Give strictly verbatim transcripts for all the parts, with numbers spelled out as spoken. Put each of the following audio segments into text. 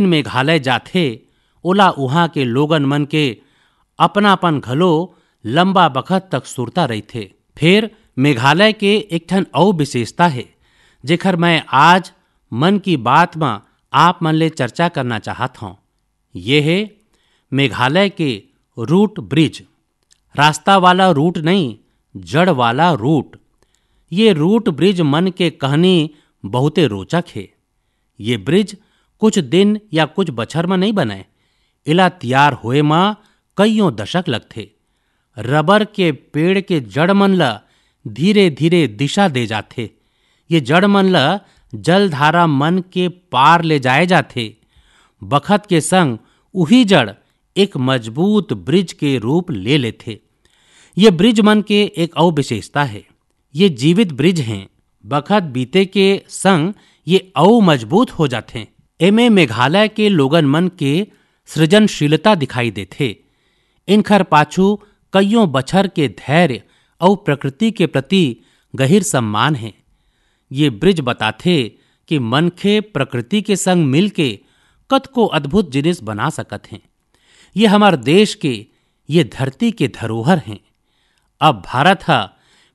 मेघालय जाथे, ओला उहाँ के लोगन मन के अपनापन घलो लंबा बखत तक सुरता रहिथे। फेर मेघालय के एक ठन अउ विशेषता हे, जेखर मैं आज मन की बात म आप मन ले चर्चा करना चाहत हौं। ये हे मेघालय के रूट ब्रिज। रास्ता वाला रूट नहीं, जड़ वाला रूट। ये रूट ब्रिज मन के कहनी बहुते रोचक हे। ये ब्रिज कुछ दिन या कुछ बछर म नहीं बनय, एला तियार होए म कइयों दशक लगथे। रबर के पेड़ के जड़ मन ल धीरे-धीरे दिशा दे जाथे। ये जड़ मन ल जलधारा मन के पार ले जाए जाथे। बखत के संग उही जड़ एक मजबूत ब्रिज के रूप ले लेथे। ये ब्रिज मन के एक अउ विशेषता हे, ये जीवित ब्रिज हें। बखत बीते के संग ये अउ मजबूत हो जाथें। एमे मेघालय के लोगन मन के सृजनशीलता दिखाई देथे। इनखर पाछू कइयों बछर के धैर्य अउ प्रकृति के प्रति गहिर सम्मान हे। ये ब्रिज बताथे कि मनखे प्रकृति के संग मिलके कतको अद्भुत जिनिस बना सकत हें। ये हमर देश के, ये धरती के धरोहर हें। अब भारत ह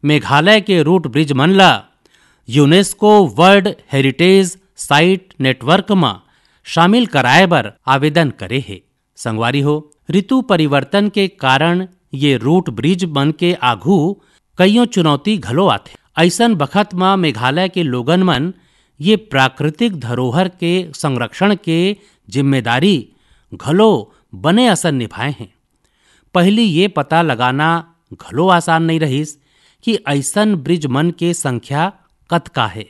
मेघालय के रूट ब्रिज मन ला UNESCO world heritage site network म शामिल कराए बर आवेदन करे हे। संगवारी हो, ऋतु परिवर्तन के कारण ये रूट ब्रिज मन के आघू कइयों चुनौती घलो आथे। अइसन बखत म मेघालय के लोगन मन ये प्राकृतिक धरोहर के संरक्षण के जिम्मेदारी घलो बने असन निभाए हें। पहिली ये पता लगाना घलो आसान नइ रहिस कि अइसन ब्रिज मन के संख्या कतका हे।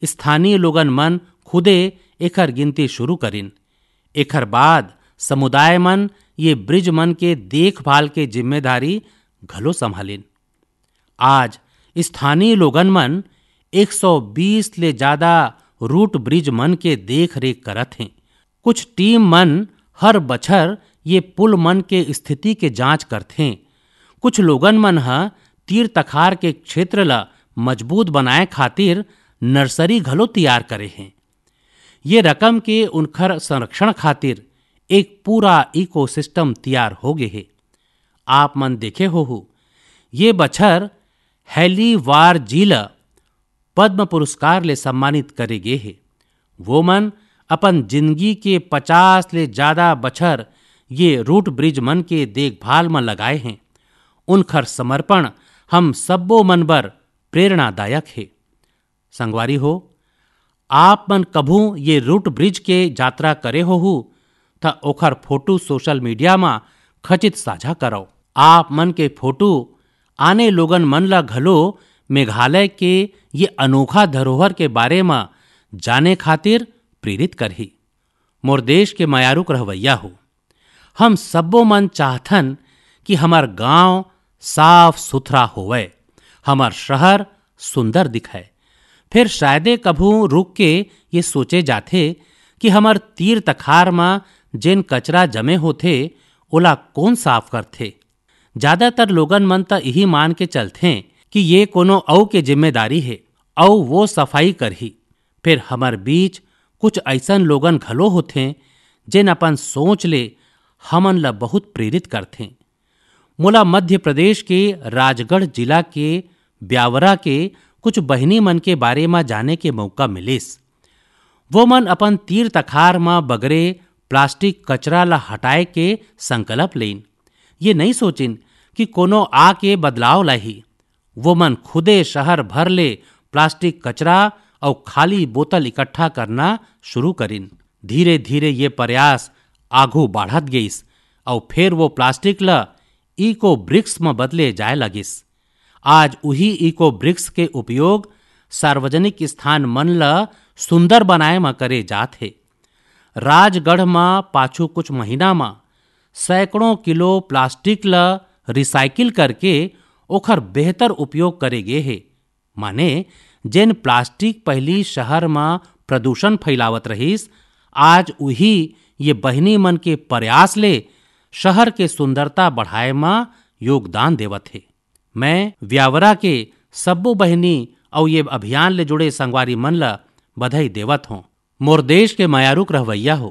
स्थानीय लोगन मन खुदे एखर गिनती शुरू करिन। एखर बाद समुदाय मन ये ब्रिज मन के देखभाल के जिम्मेदारी घलो संभालिन। आज स्थानीय लोगन मन एक सौ बीस ले जादा रूट ब्रिज मन के देख रेख करत हें। कुछ टीम मन हर बछर ये पुल मन के स्थिति के जांच करथें। कुछ लोगन मन ह तीर तखार के क्षेत्र ल मजबूत बनाए खातिर नर्सरी घलो तियार करे हें। ये रकम के उनखर संरक्षण खातिर एक पूरा इकोसिस्टम तियार हो गे हे। आप मन देखे होहू, ये बछर हेली वार जी ल पद्म पुरस्कार ले सम्मानित करे गे हे। वो मन अपन जिंदगी के पचास ले जादा बछर ये रूट ब्रिज मन के देखभाल म लगाए हें। उनखर समर्पण हम सब्बो मन बर प्रेरणादायक हे। संगवारी हो, आप मन कभू ये रूट ब्रिज के यात्रा करे होहू, त ओखर फोटो सोशल मीडिया म खचित साझा करव। आप मन के फोटो आने लोगन मन ल घलो मेघालय के ये अनोखा धरोहर के बारे म जाने खातिर प्रेरित करही। मोर देश के मयारुक रहवैया हो, हम सब्बो मन चाहथन कि हमर गांव साफ सुथरा होवय, हमर शहर सुंदर दिखय। फेर शायदे कभू रुक के ये सोचे जाथे कि हमर तीर तखार म जेन कचरा जमे होथे, ओला कोन साफ करथे? जादातर लोगन मन त इही मान के चलथें कि ये कोनो अउ के जिम्मेदारी हे, अउ वो सफाई करही। फेर हमर बीच कुछ अइसन लोगन घलो होथें, जेन अपन सोच ले हमन ल बहुत प्रेरित करथें। मोला मध्य प्रदेश के राजगढ़ जिला के ब्यावरा के कुछ बहिनी मन के बारे म जाने के मौका मिलिस। वो मन अपन तीर तखार म बगरे प्लास्टिक कचरा ल हटाए के संकल्प लेइन। ये नइ सोचिन कि कोनो आके बदलाव लाही। वो मन खुदे शहर भर ले प्लास्टिक कचरा अउ खाली बोतल इकट्ठा करना शुरू करिन। धीरे-धीरे ये प्रयास आघू बाढ़त गइस अउ फेर वो प्लास्टिक ल इको ब्रिक्स म बदले जाय लगिस। आज उही इको ब्रिक्स के उपयोग सार्वजनिक स्थान मन ल सुंदर बनाए म करे जात हे। राजगढ़ म पाछू कुछ महीना म सैकड़ों किलो प्लास्टिक ल रिसाइकिल करके ओखर बेहतर उपयोग करे गे हे। माने, जेन प्लास्टिक पहिली शहर म प्रदूषण फैलावत रहिस, आज उही ये बहिनी मन के प्रयास ले शहर के सुंदरता बढ़ाए म योगदान देवत हे। मैं व्यावरा के सब्बो बहिनी अउ ये अभियान ले जुड़े संगवारी मन ल बधाई देवत हों। मोर देश के मयारुक रहवैया हो,